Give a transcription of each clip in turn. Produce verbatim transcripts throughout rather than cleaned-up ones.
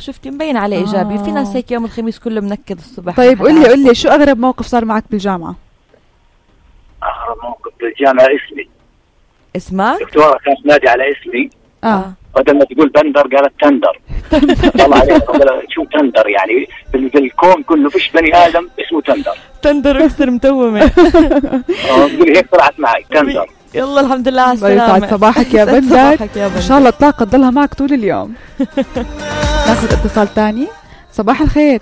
شفتي مبين عليه إيجابي. آه. في ناس هيك يوم الخميس كله منكد الصبح. طيب قولي قولي شو أغرب موقف صار معك بالجامعة؟ أغرب موقف بالجامعة اسمي. اسمك؟ دكتورة كانت نادي على اسمي. اه بدل ما تقول بندر قالت تندر. طلع عليها شو تندر يعني في الكون كله فيش بني آدم اسمه تندر. تندر أكثر متومة. اه تقولي هيك طلعت معي تندر. يلا الحمد لله على السلامة. يسعد صباحك يا بندر. إن شاء الله الطاقة تضلها معك طول اليوم. ناخذ اتصال تاني. صباح الخير.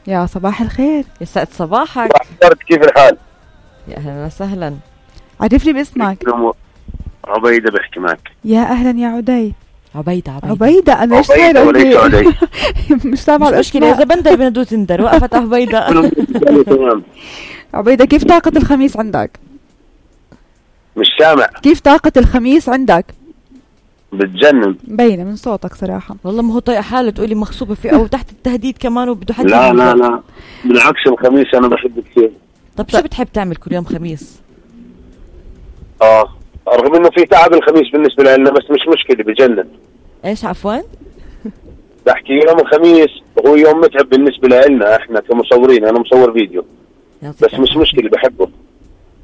يا صباح الخير. يسعد صباحك. كيف الحال؟ يا أهلا وسهلا. عرفني باسمك. عبيدة بحكي معك. يا أهلا يا عدي. عبيدة عبيدة عبيدة أنا إيش صاير وليس عدي. مش سامع الاسم. مشكلة إذا بندر بندو تندر وقفت عبيدة. عبيدة كيف طاقة الخميس عندك؟ مش سامع. كيف طاقة الخميس عندك؟ بتجنن. مبينة من صوتك صراحة. والله ما هو طايق حاله تقولي مغصوبة فيه أو تحت التهديد كمان وبده حد. لا لا لا بالعكس الخميس أنا بحب كثير. طب شو بتحب تعمل كل يوم خميس؟ آه رغم إنه في تعب الخميس بالنسبة لنا بس مش مشكلة بجنن. إيش عفوا؟ بحكي يوم الخميس هو يوم متعب بالنسبة لنا إحنا كمصورين. أنا مصور فيديو بس مش مشكلة بحبه.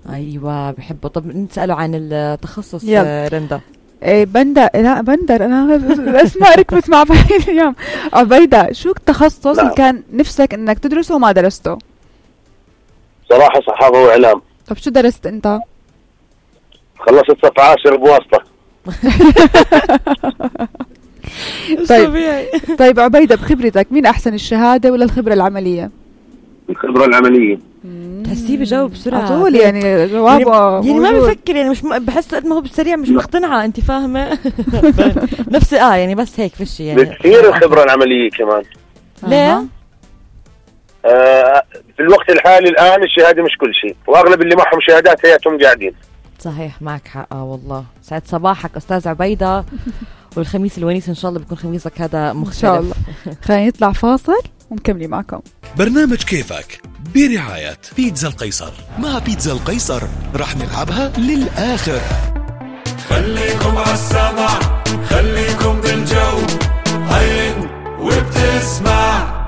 أيوة بحبه. طب نسأله عن التخصص رندا. ايه بندر. لا بندر انا اسمع ركبت مع بعض اليوم. عبيدة شو التخصص نعم. اللي كان نفسك انك تدرسه وما درسته؟ صراحة صحافة واعلام. طب شو درست انت؟ خلصت صف عاشر بواسطة. طيب طيب عبيدة بخبرتك مين احسن الشهادة ولا الخبرة العملية؟ الخبرة العملية. تحسيه بجاوب بسرعة طول يعني جوابه يعني, يعني ما بفكر يعني مش م... بحس قد ما هو بالسريع مش مقتنعة. انت فاهمة؟ نفس اه يعني بس هيك فيش يعني بكثير الخبرة العملية كمان. ليه؟ آه في الوقت الحالي الآن الشهادة مش كل شيء وأغلب اللي معهم شهادات هياتهم قاعدين. صحيح معك حق. اه والله سعد صباحك أستاذ عبيدة. والخميس الونيس إن شاء الله بيكون خميسك هذا مختلف إن شاء الله. خلينا نطلع فاصل ونكمل معكم برنامج كيفك برعاية بيتزا القيصر. مع بيتزا القيصر رح نلعبها للآخر. خليكم عالسمع خليكم بالجو عين وبتسمع.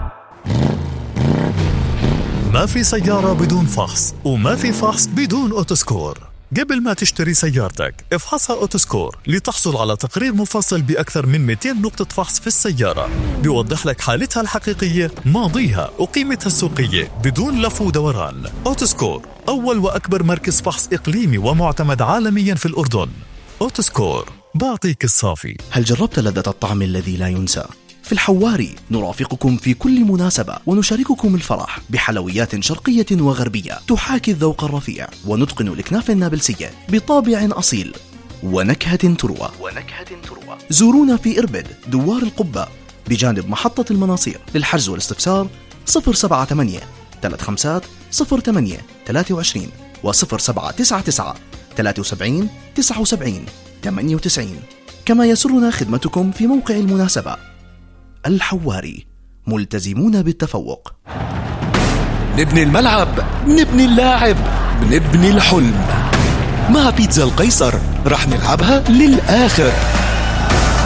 ما في سيارة بدون فحص وما في فحص بدون أوتوسكور. قبل ما تشتري سيارتك افحصها أوتوسكور لتحصل على تقرير مفصل بأكثر من مئتين نقطة فحص في السيارة بيوضح لك حالتها الحقيقية ماضيها وقيمتها السوقية بدون لف ودوران. أوتوسكور أول وأكبر مركز فحص إقليمي ومعتمد عالميا في الأردن. أوتوسكور بعطيك الصافي. هل جربت لذة الطعم الذي لا ينسى؟ في الحواري نرافقكم في كل مناسبة ونشارككم الفرح بحلويات شرقية وغربية تحاكي الذوق الرفيع ونتقن الكنافة النابلسية بطابع أصيل ونكهة تروى. ونكهة تروى. زورونا في إربد دوار القبة بجانب محطة المناصير. للحجز والاستفسار صفر سبعة ثمانية ثلاثة خمسة صفر ثمانية ثلاثة وعشرين وصفر سبعة تسعة تسعة ثلاثة وسبعين تسعة وسبعين ثمانية وتسعين. كما يسرنا خدمتكم في موقع المناسبة. الحواري ملتزمون بالتفوق. نبني الملعب نبني اللاعب نبني الحلم. مع بيتزا القيصر رح نلعبها للآخر.